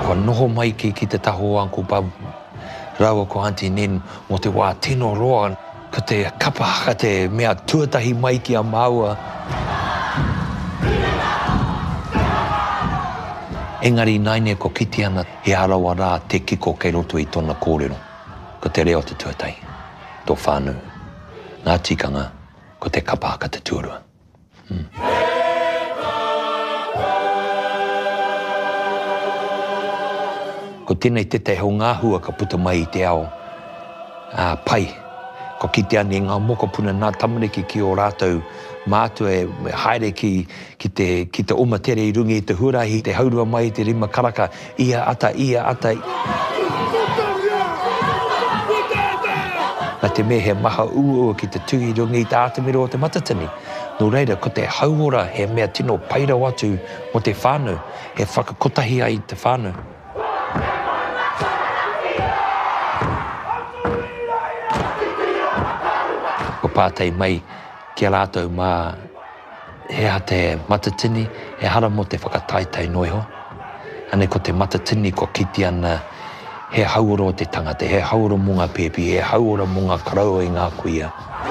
Kua noho mai ki ki te taha o Uncle Bub rāua ko Aunty Nen mō te wā tino roa. Ko te kapa haka te mea tuatahi mai ki a māua. Engari ināianei kua kite ana he arawa rā te kiko kei roto i tōna kōrero. Ko te reo te tuatahi, tō whānau, ngā tikanga, ko te kapa haka te tuarua. Ko tēnei tētahi o ngā hua ka puta mai i te ao pai. Kua kitea nei ngā mokopuna, ngā tamariki ki ō rātou mātua e haere ki te, ki te oma tere i runga i te huarahi, te haurua mai i te rima karaka, ia ata, ia ata. Nā te mea he maha uaua ki te tū i runga i te ātamira o Te Matatini. Nō reira, ko te hauora he mea tino pai rawa atu mō te whānau, e whakakotahi ai te whānau. Kua pātai mai ki a rātou mā he aha te Matatini, ehara mō te whakataetae noa iho. Anei ko te Matatini kua kite ana he hauora o te tangata, he hauora mō ngā pēpi, he hauora mō ngā koroua i ngā kuia.